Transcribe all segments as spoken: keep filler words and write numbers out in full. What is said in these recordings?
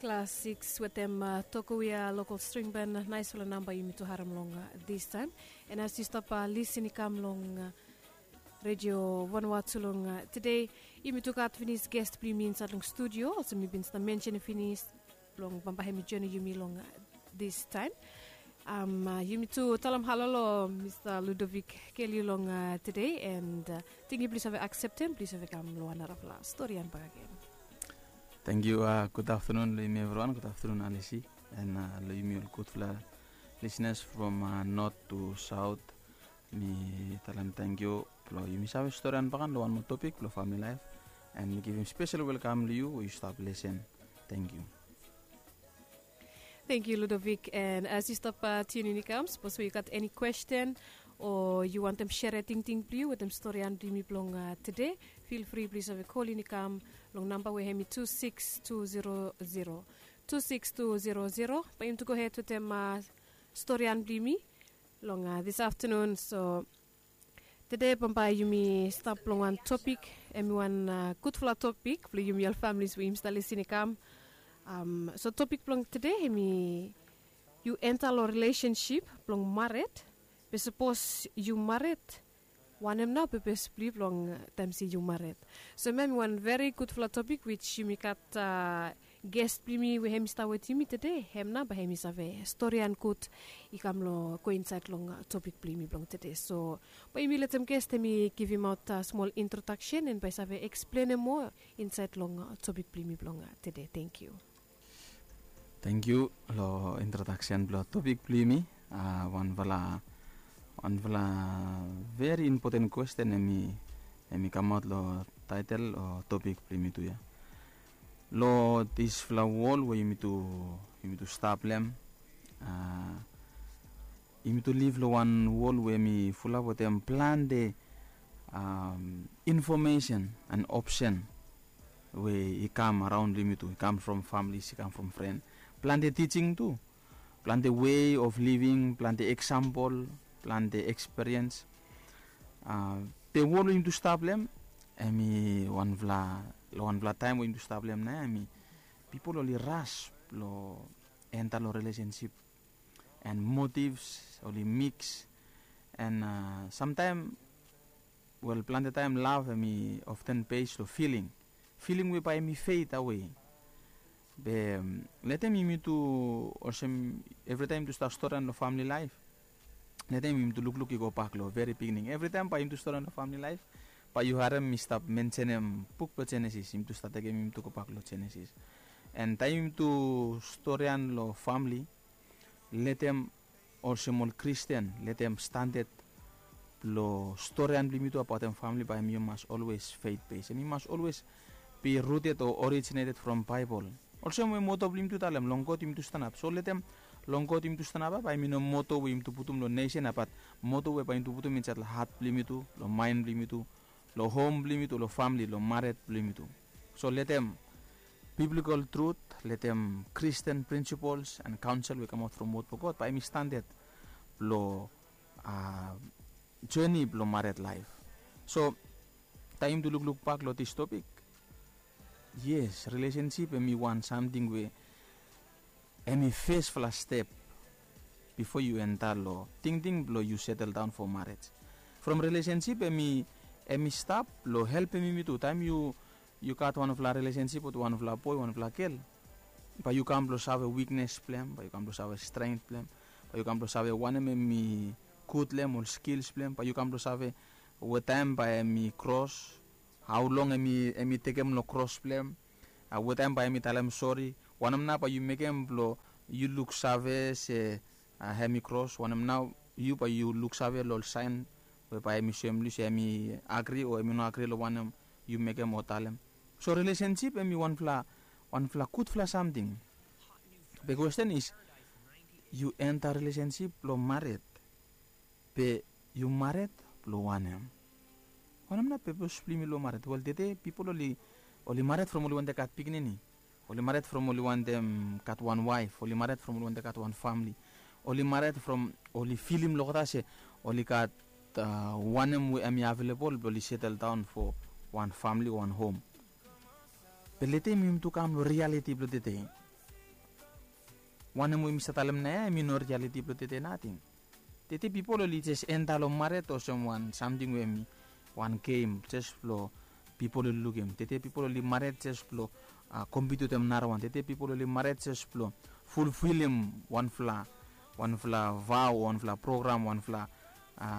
Klas sikis wetem uh, Tokuia local string band, naisfala namba yumi tu harem long uh, this time. And as you stop uh, listen i kam long uh, Radio Vanuatu long uh, today, yumi tu gat finis guest bli yumi inside long studio. Also mi bin sta mention finis long bamba hemi journey yumi long uh, this time. Um, uh, yumi tu talam halo lo Mister Ludovic Kelly long uh, today and uh, tingi please have accept him, please have kam lo another story and back again. Thank you. Uh, good afternoon, lo yumi everyone. Good afternoon, Alisi. And uh, lo yumi ol gudfala listeners from uh, north to south. Mi talam thank you. Lo yumi save story and back lo one more topic, lo family life. And mi give him special welcome to you. You stop listen. Thank you. Thank you, Ludovic. And as you stop uh, tuning in, come, suppose you got any question or you want them share a ting ting blue with them story and blue me blong uh, today, feel free please have a call in come long number we hemi two six two zero zero. Two six two zero zero. But you to go ahead with them uh, story and blue me long uh, this afternoon. So today bamba yumi stap long wan topik, hemi wan uh, gudfala topik blong yumi ol families we yumi stap lisin i kam. Um, so topik blong today hemi yu enta long relationship blong maret. Be sapos yu maret, wanem nao pepes blong yu blong uh, taem se yu maret? So hemi wan very gudfala topik which yumi gat uh, guest blong yumi we hemi stap wetem yumi today, hem nao bae hemi save storian gud i kam long go insaed long uh, topik blong yumi blong today. So bae yumi letem guest hemi givimaot uh, smol introdaksen and bae save eksplenem moa insaed long uh, topik blong yumi blong uh, today. Thank you. Thank you lo introdaksen blong topik blong yumi. Uh, wanfala wanfala very important question hemi hemi kamaot lo taetel o topik blong yumi tu ya. Lo disfala wol we yumi tu yumi tu stap long hem, uh, yumi tu liv lo wan wol we hemi fulap wetem plante um, information and option we i kam araon long yumi tu, i kam from families, i kam from fren. Plante teaching tu, plante way of living, plante example, plante experience. Uh, the wol we yumi tu stap long hem, hemi wanfala lo wanfala taem we yumi tu stap long hem nao hemi pipol oli ras lo enta lo relationship and motives oli mix. And uh, samtaem, wel, plante taem lav hemi often base lo filing, filing we bae hemi fade away. Be um, letem yumi tu olsem evritaem yumi tu stap storian lo famili laef, letem yumi tu lukluk i gobak lo veri bigning. Evritaem bae yumi tu storian lo famili laef, bae yu harem mi stap mensenem buk blong Jenesis. Yumi tu stap tekem yumi tu gobak lo Jenesis. And taem yumi tu storian lo famili, letem olsem ol Kristin, letem standad blong storian blong yumi tu abaotem famili bae hemi mas olwes fed bes, hemi mas olwes be ruted o originated from Baebol. Olsem we moto blong yumi tu talem, long God yumi tu stanap. So letem long God yumi tu stanap, bae hemi no moto we yumi tu putum lo nesen, bat moto we bae yumi tu putum insaed lo hat blong yumi tu, lo maen blong yumi tu, lo hom blong yumi tu, lo famili, lo maret blong yumi tu. So letem biblical truth, letem Kristin principles and counsel we kamaot from wod blong God bae hemi standad blong uh, journey blong maret laef. So taem yumi tu lukluk bak lo this topik, yes, relationship hemi wan samting we hemi fesfala step bifo yu enta lo tingting blong yu setel daon fo marej. From relationship hemi hemi stap lo helpem yumi tu. Taem yu yu gat wanfala relationship wetem wanfala boe, wanfala gel, bae yu kam blong save wiknes blong hem, bae yu kam blong save strength blong hem, bae yu kam blong save wanem hemi gud long hem, ol skills blong hem, bae yu kam blong save wetaem bae hemi kros, hao long hemi hemi tekem lo kros blong hem, uh, wetaem bae hemi talem sori, wanem nao bae yu mekem blong yu luksave se uh, hemi kros, wanem nao yu bae yu luksave lo ol saen we bae hemi soem long yu se hemi agri o hemi no agri lo wanem yu mekem o talem. So relationship hemi wanfala wanfala gudfala samting. Be kwesten is, yu enta relationship lo mared, be yu mared blo wanem? Wanem nao pepes blo yumi lo mared? Wel, tede pipol oli oli mared from oli wantem gat pikinini. Oli mared from oli wantem gat wan waef. Oli mared from oli wantem gat wan famle. Oli mared from oli filim olgeta se oli gat wanem we hemi avelebol blo oli setel daon fo wan famle o wan hom. Be lete yumi tu kam lo rialiti blo tede. Wanem we mi save talem nao ya, em i no rialiti blong tete nating. Tete pipol oli jes enta long mared olsem wan samting we em i wan gem jes blong pipol oli lukim. Tete pipol oli mared jes blong kompit wetem narawan. Tete pipol oli mared jes blong fulfilim wanfala wanfala vao, wanfala program, wanfala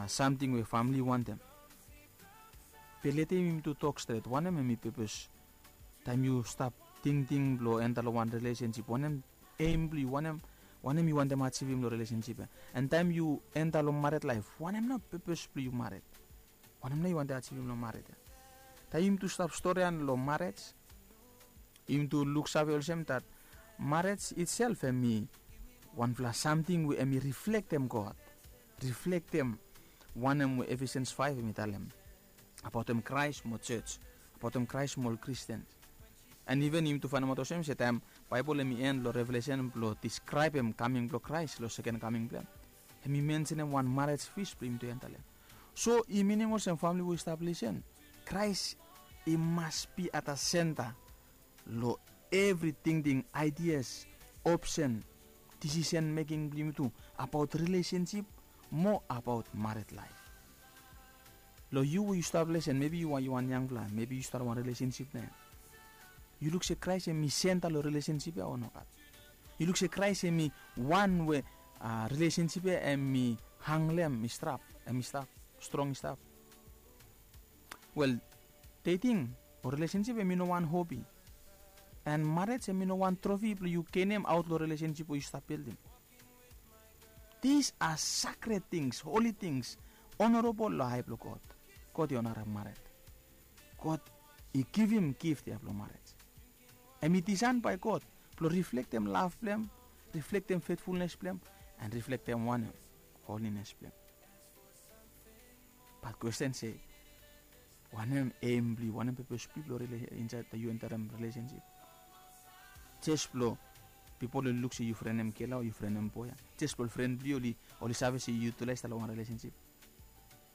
samting we famili i wantem. Be lete yumi tu tok stret wanem em i pepes taem yu stap tingting blong enta long wan rilesensip, wanem em blong yu, wanem wanem yu wantem ajivim long rilesensip ya? An taem yu enta long mared laef, wanem nao pepes blong yu mared? Wanem nao yu wantem ajivim long mared ya? Taem yumi tu stap stori ya long mared, yumi tu luksave olsem dat mared itself em i wanfala samting we em i riflektem God, riflektem wanem we Efesians faef em i talem abaotem Kraes mo jos, abaotem Kraes mo ol Kristian. An iven yumi tu faenemaot olsem se taem Baebol em i en long Revelesen blong diskraebem kaming blong Kraes long seken kaming blong em, em i mensenem wan mared fis blong yumi tu enta long em. So i minim olsem famili we i stap lisen, Kraes i mas bi at the senta long evri tingting, aidias, opsen, disisen meking blong yumi tu abaot rilesensip mo abaot mared laef. Long yu we yu stap lisen, mebi yu wan yangfala, mebi yu stap long wan rilesensip nao ya. Yu luk se Kraes em i senta long rilesensip ya o nogat? Yu luk se Kraes em i wan we rilesensip ya em i hang long em, i stap, em i stap strong, i stap? Wel, dating o rilesensip em i no wan hobi. An mared em i no wan trofi blong yu genem aot long rilesensip we yu stap bildim. These are sacred things, holy things, honorable long ae blong God. God i onarem mared. God i givim gift ya blong mared. Em i disaen bae God blong riflektem lav blong em, riflektem fetfulnes blong em, an riflektem wanem, holines blong em. Bat kwesten se, wanem em blong yu, wanem pepes blong yu blong rila- insaed yu entarem rilesensip? Jes blong pipol oli luk se yu frenem gel ya o yu frenem boe ya? Jes blong ol fren blong yu oli save se yu tu lae i stap long wan rilesensip?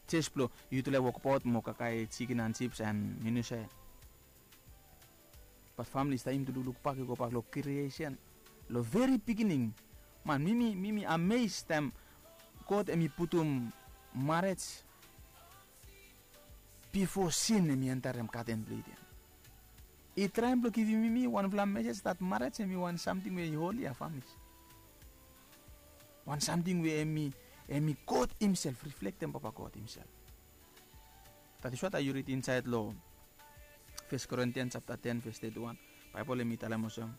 Jes blong yu tu lae wokbaot mo kakae jikin an jips an minusa ya? Bat famili, taem yumi tu lukluk bak, yu gobak long kriesen, long veri bigining. Man, mi mi mi ames taem God em i putum mared bifo sin em i entarem gaden blong Iden. I traem blong givim yumi wanfala mesej dat mared em i wan samting we i holi ya, famili. Wan samting we em i, em i God himself, riflektem Papa God himself. That is what yu rid insaed long First Corinthians chapter ten verse thirty-one. Baebol em i talem olsem,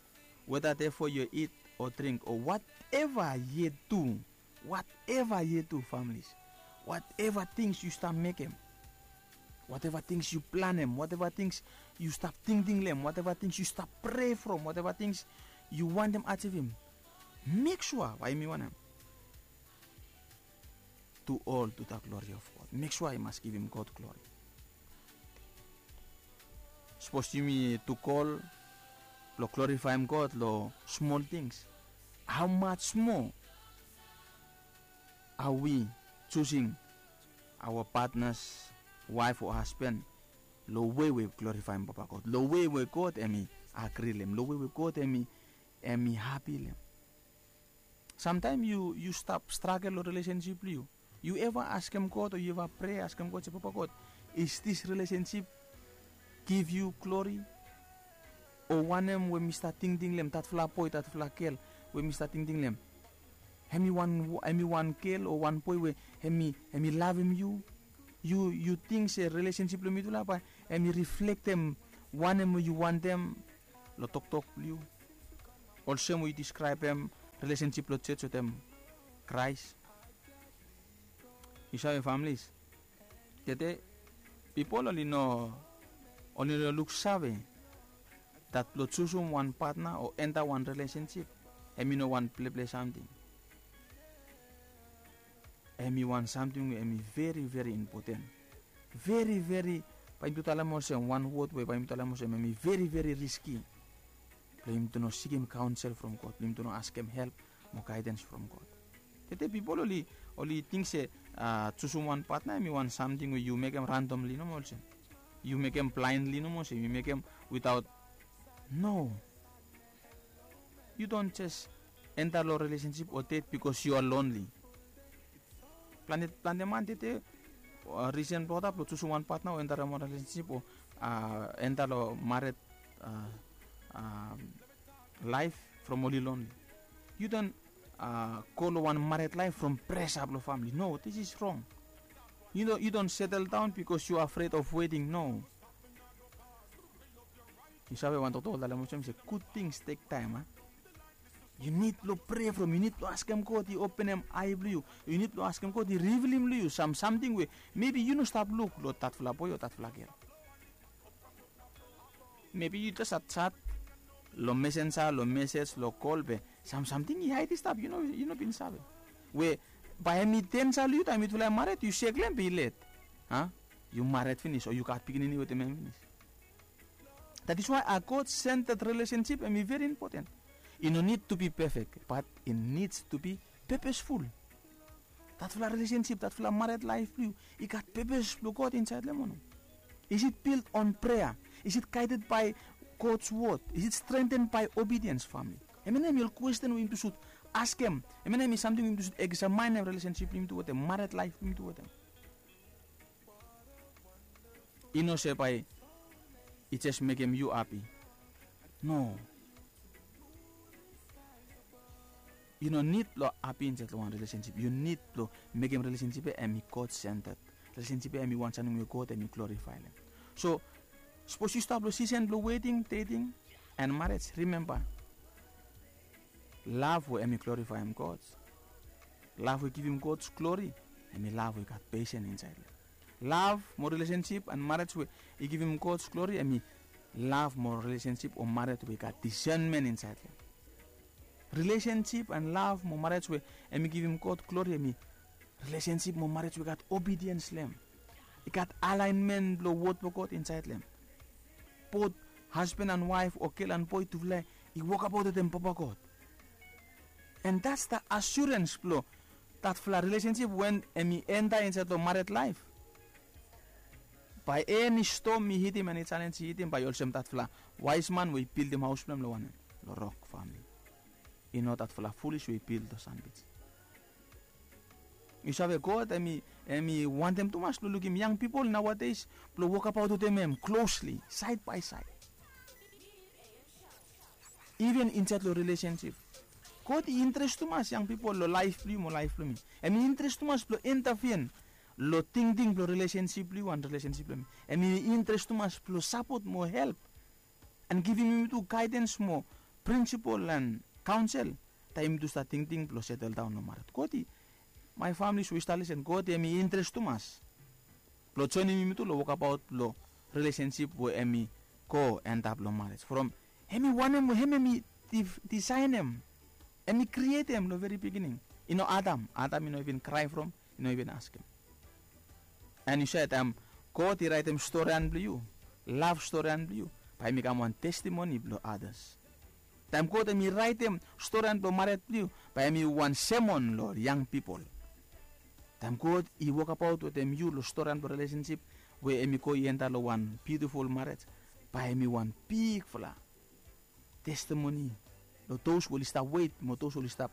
whether therefore you eat or drink or whatever ye do, whatever ye do, families, whatever things yu stap mekem, whatever things yu planem, whatever things yu stap tingting long em, whatever things yu stap prea from, whatever things yu wantem ajivim, mek sua bae yumi wanem, do all to the glory of God. Mek sua i mas givim God glori. Sapos yumi tu gol blong glorifaem God long smol tings, hao maj moa are we choosing our partners, waef o hasban, long wei we i glorifaem Papa God, long wei we God em i agri long em, long wei we God em i, em i hapi long em? Samtaem yu, yu stap stragel long rilesensip blong yu. Yu eva askem God o yu eva prea askem God se, Papa God, is this relationship give you glory? O wanem we mi stap tingting long em, datfala boe, datfala gel we mi stap tingting long em, hemi wan, hemi wan gel o wan boe we hemi, hemi lavem yu? Yu, yu ting se rilesensip blong mitufala bae hemi riflektem wanem we yu wantem long toktok blong yu, olsem we yu diskraebem rilesensip blong jos wetem Kraes? Yu save, families, tede pipol oli no, oli no luksave dat blong jusum wan patna o enta wan rilesensip, hemi no wan pleple samting. Hemi wan samting we hemi veri, veri impoten. Veri, veri, bae yumi tu talem olsem, wan wod we bae yumi tu talem olsem, hemi veri, veri riski blong yumi tu no sikim kaonsel from God, blong yumi tu no askem help mo gaedens from God. Tede pipol oli, oli ting se, a, jusum wan patna hemi wan samting we yu mekem randomli nomo olsem. Yu mekem blaenli nomo olsem, yu mekem without, no. Yu don't just enta long relationship o date because you are lonely. Plante plante man tete, risen blong ol blong jusum wan patna o enta long wan relationship o enta long maret laif from oli lonely. You don go long wan maret laif from presa blong famili. No, this is wrong. You don settle down because you are afraid of wedding. No. You save wan toktok oltalem olsem se good things take time a. You need blong prea from you need blong askem god i openem ai blong you. You need blong askem god i rivilim long you sam samting we maybe you no stap luk long tatfala boy o tatfala gel. Maybe you just a chat long mesenja long mesej long kol be sam samting i haid i stap you no bin save. We bae em i densa long you taem yutfala i maret yu seklem be i let. A? Yu maret finis o yu gat pikinini wetem em finis. That is why a god centered relationship em i very important. I no need to be perfect but it needs to be purposeful. Datfala relationship datfala maret laif blong yu i gat purpose blong god insait long em o no? Is it built on prayer? Is it guided by god's word? Is it strengthened by obedience family? Em ya na em i ol kwesten we yumi tu sud askem. Em ya na em i samting we yumi tu sud eksamainem relationship blong yumi tu wetem maret laif blong yumi tu wetem. I no se bae i jes mekem yu hapi. No. Yu no nid blong hapi insait long wan relationship. Yu nid blong mekem relationship ya em i god centered. Relationship ya em i wan samting we god em i glorifaelem. So sapos yu stap long sisen blong weting dating and marej, rimemba, lav we em i glorifaem god, lav we givim god glori, em i lav we i gat pesen insait long em. Lav mo rilesensip and marej we i givim god glori em i lav mo rilesensip o marej we i gat disenmen insait long em. Rilesensip and lav mo marej we em i givim god glori em i rilesensip mo marej we i gat obidiens long em. I gat alaenmen blong wod blong god insait long em. Bot hasban and waef o gel and boe tufala i wokabaot wetem papa god. And that's the assurance blong datfala rilesensip wen em i enta insait long maret laef. Bae eni stom i hitim eni jalenj i hitim bae i olsem datfala waesman we i bildim haos blong em long wanem? Long rok famili. I no datfala fulis we i bil long sandwich. Yu save god em i wantem tumas blong lukim yang pipol naoades blong wokabaot wetem em klosli saed bae saed. Iven insaed long rilesensip god i interes tumas yang pipol long laef blong yu mo laef blong mi. Em i interes tumas blong entafin long tingting blong rilesensip blong yu an rilesensip blong mi. Em i interes tumas blong sapot mo help an givim yumi tu gaedens mo prinsipol an kaonsel. Taem yumi tu stap tingting blong seteldaon long maret god i mae famili so i stap lisen god em i interes tumas blong joenem yumi tu long wokabaot blong rilesensip we em i go antap long marej from em i wanem we em em i disaenem. Em i krietem long veri pikining. I no adam adam i no even krae from i no even askem. An yu save taem god i raetem storian blong yu, lav storian blong yu, bae em i kam wan testimoni blong adas. Taem god em i raetem storian blong maret blong yu, bae em i wan semon long yang pipol. Taem god i wokabaot wetem yu long storian blong rilesensip we em i go i enta long wan biutiful marej, bae em i wan bigfala testimoni long dos we oli stap wet mo dos we oli stap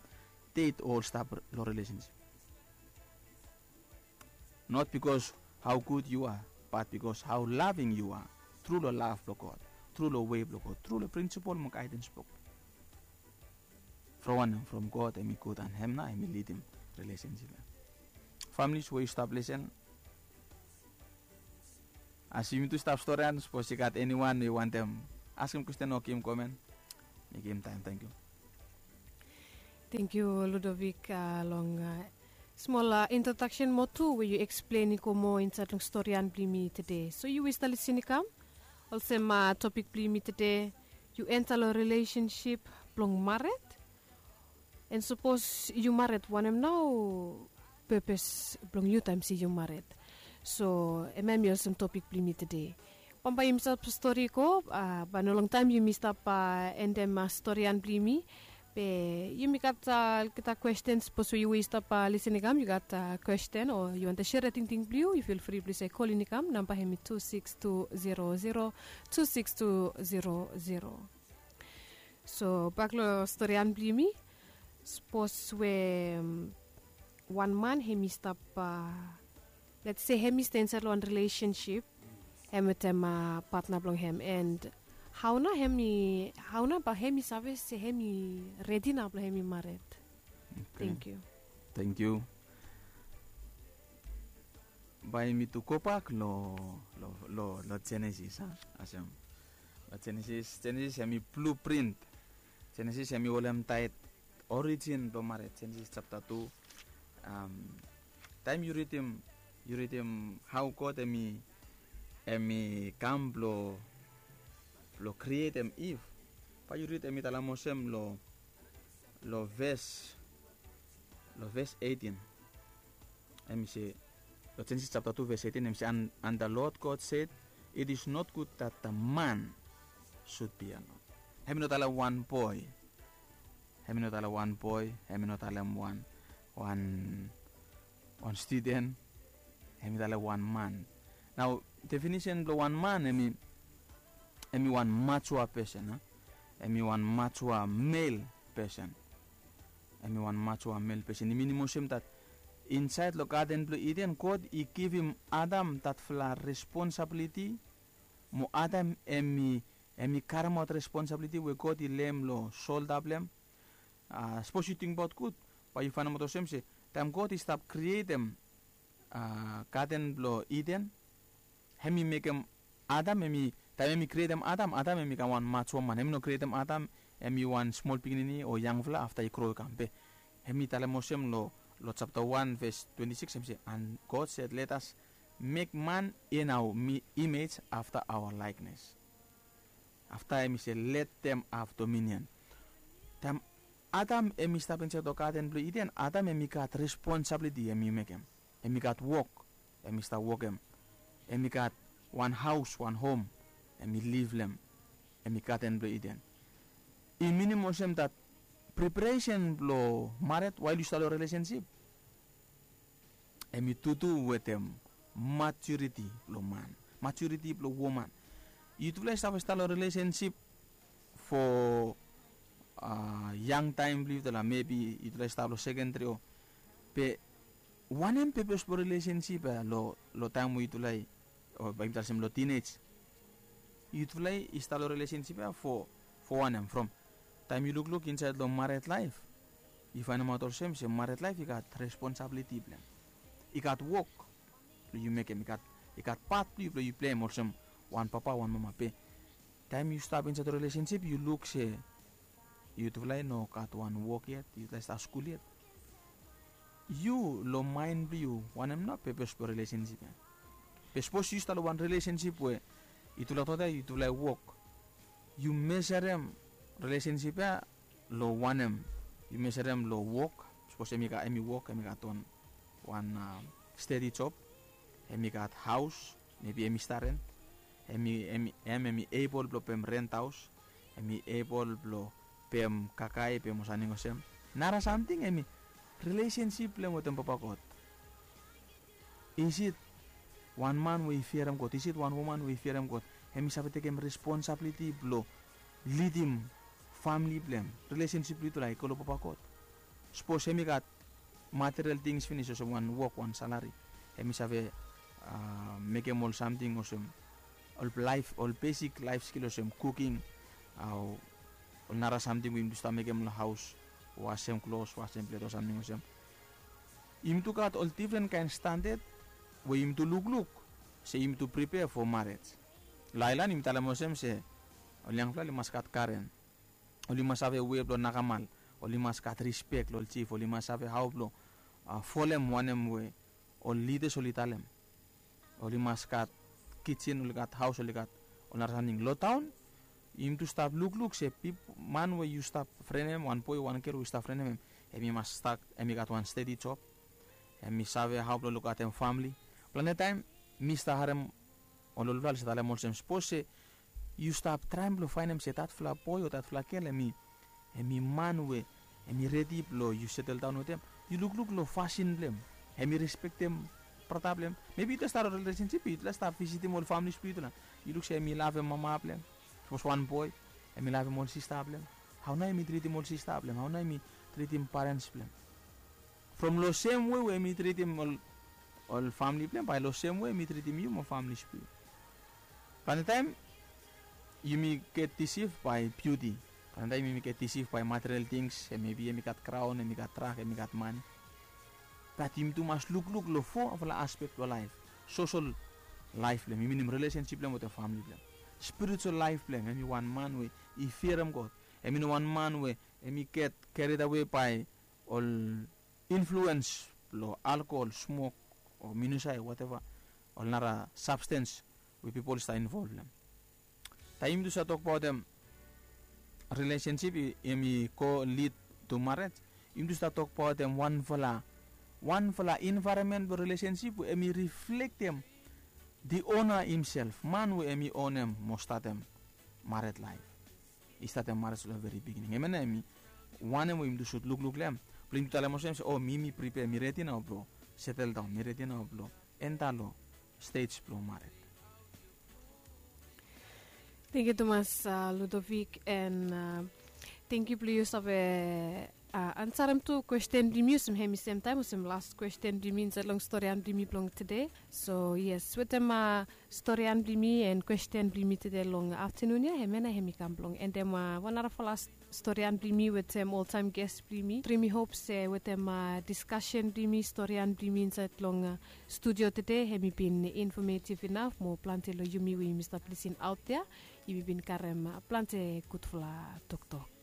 ded o oli stap long rilesensip. Not bikos hao gud yu a, bat bikos hao laving yu a, tru long lav blong god, tru long wei blong god, tru long prinsipol mo gaedens blong god. From wanem? From god em i gud an hem nao em i lidim rilesensip ya. Familis we yu stap lisen, as yumi tu stap storian sapos i gat eniwan we i wantem askem kwesten o givim komen. Mi givim taem tangkiu. Tangkiu ludovik long smol introdaksen moa tu we yu eksplen i go moa insaed long storian blong yumi tede so yu we i stap lisin i kam olsem topik blong yumi tede, yu enta long rilesensip blong maret. An sapos yu maret wanem nao pepes blong yu taem se yu maret? So em ya em i olsem topik blong yumi tede. Bambae yumi stap stori i go bae no longtaem yumi stap endem storian blong yumi. Be yumi gat olgeta kwesten sapos we yu we yu stap lisin i kam yu gat kwesten o yu wantem sere tingting blong yu yu fil fri blong yu save kolin i kam namba hem i tu siks tu zero zero tu siks tu zero zero. So bak long storian blong yumi. Sapos we wan man hem i stap, let's say, hem i stap insait long wan relationship, hem wetem patna blong hem, and hao nao hem i hao nao bae hem i save se hem i redi nao blong hem i mared? Thank you. Thank you. Bae mi tu gobak long long long Genesis a, olsem long Genesis, Genesis hem i blueprint. Genesis hem i holem taet origin blong mared, Genesis japta tu. Taem yu ridim yu ridim hao God hem i hem i kam blong blong krietem Iv, bae yu rid hem i talem olsem long long ves long ves eitin. Hem i se long Genesis japta tu ves eitin hem i se, and the Lord God said, it is not good that the man should be alone. Hem i no talem wan boe. Hem i no talem wan boe, hem i no talem wan wan wan studen. Hem i talem wan man. Nao, definisen blong wan man hem i hem i wan matua pesen a. Hem i wan matua mel pesen. Hem i wan matua mel pesen. I minim olsem dat insait long gaden blong Iden God i givim Adam datfala responsabiliti. Mo Adam hem i hem i karemaot responsabiliti we God i lehem long solda blong hem. Sapos yu tingbaot gud, bae yu faenemaot olsem se taem God i stap krietem gaden blong Iden, hem i mekem Adam hem i taem hem i krietem Adam, Adam hem i kam wan matua man. Hem i no krietem Adam hem i wan smol pikinini o yangfala afta i gro i kam. Be hem i talem olsem long long japta wan ves twenti sikis hem i se, and God said, let us make man in our image after our likeness. Afta hem i se, let them have dominion. Taem Adam hem i stap insait long gaden blong Iden, Adam hem i gat responsabiliti hem i mekem. Hem i gat wok hem i stap wokem. Hem i gat wan haos, wan hom hem i liv long hem. Hem i gaden blong Iden. I minim olsem dat preparesen blong mared wael yu stap long relesensip hem i tutu wetem maturiti blong man, maturiti blong woman. Yutufala i save stap long relesensip fo yang taem blong yutufala, mebi yutufala i stap long sekendri o be wanem pepes blong relesensip ya long taem we yutufala i o bae yumi talem olsem long tinej. Yutufala i stap long relesensip ya fo fo wanem? From taem yu lukluk insait long mared laef, yu faenemaot olsem se mared laef i gat responsabiliti blong hem. I gat wok blong yu mekem, i gat i gat pat blong yu blong yu pleim olsem wan papa, wan mama. Be taem yu stap insait long relesensip yu luk se yutufala i no gat wan wok yet, yutufala i stap skul yet. Yu long maen blong yu wanem nao pepes blong relesensip ya? Be sapos yu stap long wan relesensip we yutufala toktok ya yutufala i wok, yu meserem relesensip ya long wanem? Yu meserem long wok, sapos hem i gat hem i wok hem i gat wan wan stedi job, hem i gat haos, mebi hem i stap rent, hem i hem hem hem i ebol blong pem rent haos, hem i ebol blong pem kakae pem ol samting olsem. Nara samting hem i relesensip blong hem wetem papa God. Isit wan man we i fiarim God, isit wan woman we i fiarim God hem i save tekem responsabiliti blong lidim famili blong hem? Relesensip blong yutufala i go long papa God. Sapos hem i gat material tings finis olsem wan wok, wan salari, hem i save mekem ol samting olsem ol laef ol besik laef skil olsem kuking, ol nara samting we yumi tu stap mekem long haos, wasem klos, wasem plet, ol samting olsem. Yumi tu gat ol difren kaen standad we yumi tu lukluk se yumi tu pripea fo marej. Long aelan yumi talem olsem se ol yangfala oli mas gat garen, oli mas save wei blong nakamal, oli mas gat rispek long ol jif, oli mas save hao blong folem wanem we ol lidas oli talem. Oli mas gat kijin, oli gat haos, oli gat ol nara samting. Long taon yumi tu stap lukluk se man we yu stap frenem, wan boe o wan gel we yu stap frenem hem, hem i mas stap, hem i gat wan stedi job, hem i save hao blong lukaotem famili. Plante taem mi stap harem ol olfala oli stap talem olsem, sapos se yu stap traem blong faenem se datfala boe o datfala gel hem i hem i man we hem i redi blong yu seteldaon wetem, yu lukluk long fasin blong hem, hem i respektem brata blong hem. Mebi yutufala stap long relesensip, yutufala stap visitim ol familis blong yutufala, yu luk se hem i lavem mama blong hem. Sapos wan boe, hem i lavem ol sista blong hem. Hau nao em i tritim ol sista blong em? Hau nao em i tritim parens blong em? From long sem we we em i tritim ol ol famili blong em, bae long sem we em i tritim yu mo famili blong yu. Plante taem yumi get disif bae biuti. Plante taem yumi get disif bae material tings, em mebi em i gat graon, em i gat trak, em i gat mane. Bat yumi tu mas lukluk long fo fala aspek blong laef. Sosol laef blong em, yumi minim relesensip blong em wetem famili blong em. Spiritual laef blong em, em i wan man we i fiaram god. Em i no wan man we em i get keridawe bae ol influens blong alkohol, smok, o minusae, wateva ol nara sabstens we pipol i stap invol long em. Taem yumi tu stap tokbaotem relesensip em i go lid tu maret, yumi tu stap tokbaotem wanfala wanfala envaeronmen blong relesensip we em i riflektem di ona himself, man we em i onem mo statem maret laef, i statem maret long veri bigining. Em ya nao em i wanem we yumi tu sud lukluk long em blong yumi tu talem olsem se, o mi mi pripea, mi redi nao blong seteldaon, mi redi nao blong enta long stej blong maret. Tengkiu tumas, Ludovik, and tengkiu blong yu save ansarem tu kwesten blong mi olsem hem i semtaem olsem las kwesten blong mi insaed long storian blong mi blong tede. So yes, wetem storian blong mi and kwesten blong mi tede long aftanun ya, hemia nao hem i kam blong endem wan narafala storian blong mi wetem oltaem ges blong mi. Tru mi hop se wetem diskasen blong mi, storian blong mi insaed long studio tede, hem i bin infometiv inaf mo plante long yumi we yumi stap lisin aot ya, yumi bin karem plante gudfala toktok.